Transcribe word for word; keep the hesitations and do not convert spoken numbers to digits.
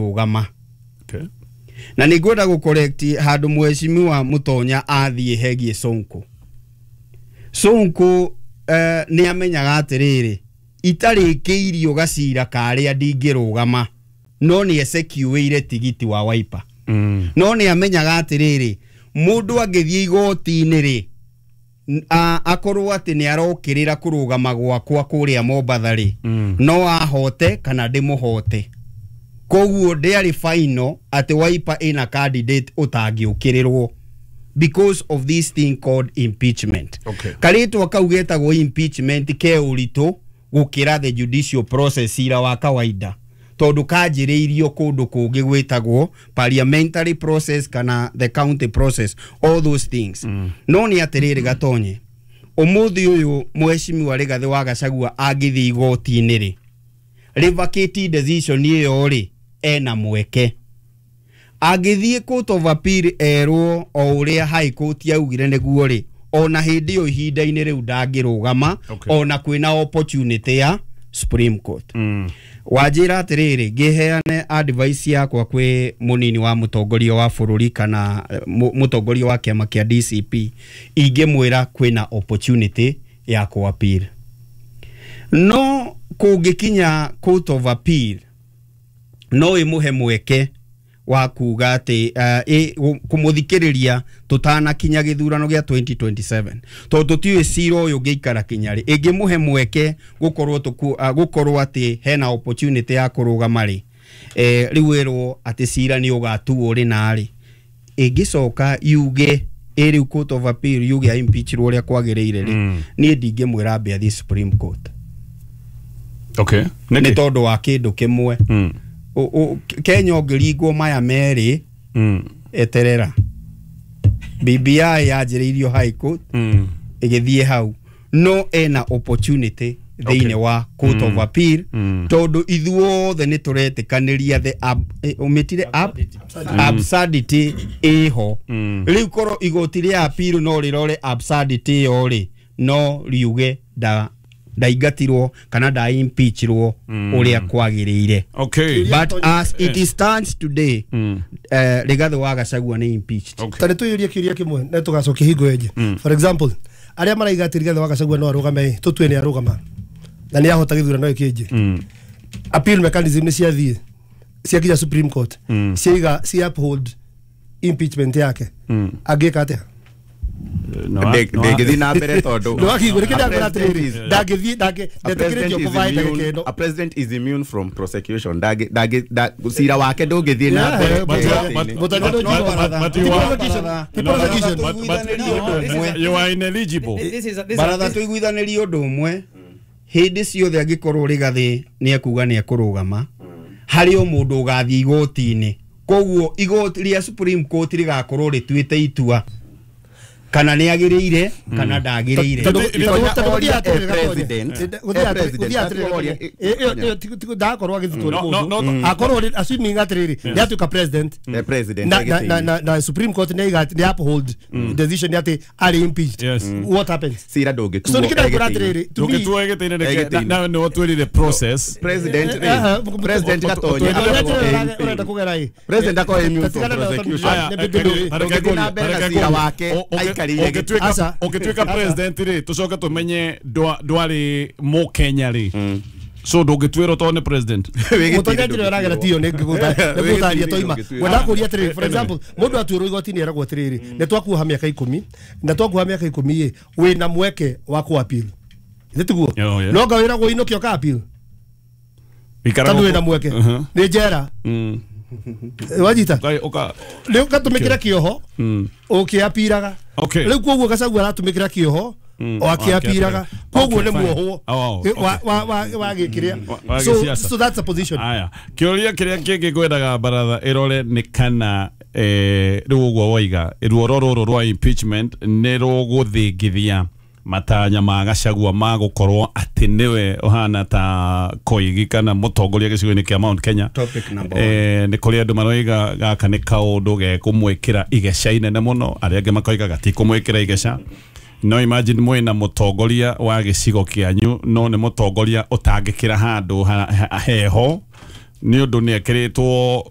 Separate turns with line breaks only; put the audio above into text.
Ndangĩrũgama.
Okay.
Na nĩ ngwenda gũ correct handũ mheshimiwa Mutonya athiĩ hegiĩ Sonko. Sonko eh, nĩ amenyaga atĩrĩrĩ, itarĩkĩirio gacira karĩa ndingĩrũgama, no nĩ esecuĩire tigiti wa Wiper.
Mm.
No nĩ amenyaga atĩrĩrĩ, mũndũ angĩthiĩ igoti-inĩ rĩ, n- a- akorwo atĩ nĩ arokĩrĩra kũrũgama gwakwa kũrĩa Mombatha rĩ,
Mm.
no ahote kana ndĩmũhote. Koguo ndĩarĩ final atĩ Wiper ĩna candidate ũtangĩũkĩrĩrwo because of this thing called impeachment.
Okay.
Karĩtwa kau getagwo impeachment ke ũritũ gũkĩra the judicial process cira wa kawaida, tondũ kanjĩrĩirio kũndũ kũngĩ gwĩtagwo parliamentary process kana the county process, all those things. mm. No nĩ atĩrĩrĩ Gatonye, ũmũthĩ ũyũ mheshimiwa Rigathĩ wa Gachagua angĩthiĩ igoti-inĩ rĩ, revocate decision ĩyo rĩ, ena mweke. Angĩthiĩ court of appeal erwo o ũrĩa high court yaugire nĩguo rĩ, ona hĩndĩ ĩyo ihinda-inĩ rĩu ndangĩrũgama.
Okay.
Ona kwĩna opportunity ya Supreme Court.
Mm.
Wanjĩra atĩrĩrĩ, ngĩheane advice yakwa kwĩ mũnini wa mũtongoria wa bũrũri kana eh, mũ- mũtongoria wa kĩama kĩa D C P, ingĩmwĩra kwĩna opportunity ya kũ appeal. No kũngĩkinya court of appeal, no ĩmũhe mweke wa kuga atĩ uh, kũmũthikĩrĩria tũtanakinya gĩthurano gĩa twenty twenty-seven, tondũ tũtiũĩ cira ũyũ ũngĩikara kinya rĩ. Ĩngĩmũhe mweke gũkorwo tũku, uh, gũkorwo atĩ hena opportunity ya kũrũgama rĩ, eh, rĩu ĩrwo atĩ cira nĩ ũgatuo rĩ na rĩ, ĩngĩcoka yuge ĩ rĩu court of appeal yuge impeachirwo ũrĩa kwagĩrĩire rĩ,
Mm.
niĩ ndingĩmwĩra ambe athiĩ Supreme Court.
Okay.
Nĩ
Nĩkĩ?
tondũ wa kĩndũ kĩmwe.
Mm.
O- o- Kenya ũngĩringwo maya merĩ,
Mm.
eterera. B B I yanjĩrĩirio high court,
Mm.
ĩgĩthiĩ hau, no ena opportunity thĩinĩ
Okay.
wa court of appeal,
Mm.
tondũ ithuothe nĩ tũretĩkanĩria the ab, eh, ũmĩtire ab, absurdity ĩho.
Mm.
Rĩu korwo igoti rĩa appeal no rĩrore absurdity ĩyo rĩ, no riuge nda ndaingatirwo kana nda impeachirwo ũrĩa kwagĩrĩire.
Okay.
But as it stands today,
Mm.
eh, Rigathĩ wa Gachagua nĩ impeached.
Okay.
Ta nä tå yå rie kä ria kä mwe na tå gacokia hingo ĩngĩ. For example, arĩa maraiga atĩ Rigathĩ wa Gachagua no arũgame ĩ, tũtue nĩ arũgama na nĩ ahota gĩthurano gĩkĩ ĩngĩ,
Mm.
appeal mechanism nĩ ciathiĩ ciakinya Supreme Court,
Mm.
ciaiga cia uphold impeachment yake,
Mm.
angĩka atĩa?
Ndĩngĩthiĩ na mbere tondũ
Ndwakigwo nĩkĩ ndakwĩra
A president
atĩrĩrĩ,
is-
ndangĩthiĩ ndangĩ-
a president
ndetĩkĩrĩtio
is
kũvaĩ ndagĩka
immune-
ĩno.
a president is immune from prosecution. Ndangĩ- ndangĩ- nda- cira wake ndũngĩthiĩ na
Yeah,
mbere
but-
igoti-inĩ.
but- but-
No, baratha.
But you are-
Baratha.
Ti prosecution.
But- but- you are ineligible.
This is a, this
Baratha,
is
tũiguithanĩrie ũndũ ũmwe. Hĩndĩ ciothe angĩkorwo Rigathĩ nĩ ekuga nĩ ekũrũgama, harĩ o mũndũ ũgathiĩ igoti-inĩ. Koguo igoti rĩa Supreme Court rĩgakorwo rĩtuĩte itua kana nĩ agĩrĩire kana ndagĩrĩire.
Tondũ-
Itonya
tondũ- tondũ
oria
gũthiĩ atĩrĩrĩ
e
Gatonye.
president.
Gũthiĩ
E
atĩrĩrĩ-
president.
gũthiĩ atĩrĩrĩ
Oria-
Gatonye. Ĩ- ĩyo- ĩyo ti- ti- ndakorwo agĩthitwo nĩ
No, no,
mũndũ.
no.
Akorwo rĩ- assuming atĩrĩrĩ nĩ atuĩka president,
E president
na, na, na,
agĩtĩ-inĩ.
na, na Supreme Court nĩ iga- nĩ uphold decision atĩ arĩ impeached,
Yes.
what happens?
Cira ndũngĩtuo
So nĩkĩ ndakwĩra
egĩtĩ-inĩ.
atĩrĩrĩ, to me-
Ndũngĩtuo gĩtĩ-inĩ nĩkĩ?
Gĩtĩ-inĩ.
Na- na nĩwe twĩrire process.
President
Eh,
rĩ,
eh,
president Gatonye
Ũrĩa
akoragwo
ũrenda-
e
ũrenda kũgera ĩ.
President akoragwo immune from
Tatigana na
prosecution.
Aya,
Nĩ-
eh,
nĩ-
eh,
nĩ-
reke
Ndũngĩthiĩ na mbere na
reke
cira
ngũrie.
wake
O- ũngĩ-
aikarĩire gĩtĩ.
ũngĩtuĩka-
Aca.
Ũngĩtuĩka
Aca.
president rĩ, tũcoke tũmenye ndwa- ndwarĩ mũkenya rĩ, so ndũngĩtuĩrwo tondũ nĩ president?
Wĩ
Mũtonya
gĩtĩ-inĩ
njĩra ĩragera
ndũngĩtuĩrwo.
tiyo nĩ ngũtaria toima.
Ndũngĩtuĩrwo.
Ngwenda kũria atĩrĩrĩ, for example, mũndũ atuĩrwo igoti-inĩ eragwo atĩrĩrĩ, nĩ twakuoha mĩaka ikũmi, na twakuoha mĩaka ikũmi ĩ, wĩna mweke wa kũ appeal, ithĩ tiguo?
Oh, yeah.
No nga wĩragwo inũkio ka appeal
Ikaraga
tondũ
gũkũ.
wĩna mweke
Uh-huh.
nĩ njera.
Mm.
Wanyita?
Ũka- ũka-
Rĩu gatũmĩkĩra kĩoho ũkĩapiraga.
Okay.
Rĩu koguo Gachagua aratũmĩkĩra kĩoho o akĩapiraga, koguo
Okay,
nĩ
fine.
muohwo
Oh, okay.
wa wa wa wa gĩkĩrĩa.
Wa
So
gĩsiasa.
so that's a position.
Aya, kĩũria kĩrĩa kĩngĩ ngwendaga baratha ĩrore nĩ kana eh, rĩu ũguo waiga ruoro rũrũ rwa impeachment nĩ rũgũthingithia matanya ma Gachagua ma gũkorwo atĩ nĩwe ũhana ta koigi kana mũtongoria gĩcigo-inĩ kĩa Mount Kenya.
Topic number one.
Eh, nĩ kũrĩ andũ maroiga gaka nĩ kaũndũ gekũmwĩkĩra igeca inene mũno, arĩa angĩ makoiga gatikũmwĩkĩra igeca. No imagine mwĩna mũtongoria wa gĩcigo kĩanyu, no nĩ mũtongoria ũtangĩkĩra handũ ha- ha- heho. Nĩ ũndũ nĩ ekĩrĩtwo.